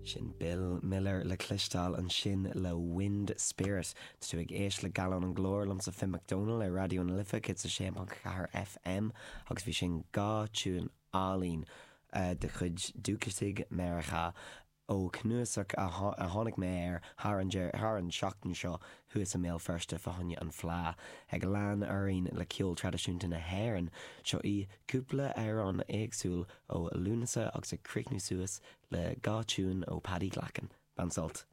Sin Bill Miller le cloisteáil ansin le Wind Spirit. Tá tú ag éisteacht le Gallán an Ghlóir liomsa Finn McDonald ar Raidió na Life 106.4 FM agus bhí sin dhá tiúin álainn de chuid dúchasaigh Meiriceá ó chnuasach a tháinig mé air thar an thar an seachtain seo thuas i mBéal Feirste fá choinne an Fleadh. Ag lean orainn le ceol traidisiúnta na hÉireann, seo í cúpla amhrán éagsúil ó Lúnasa agus ag críochnú suas le dhá tiúin ó Paddy Glackin. Bain sult!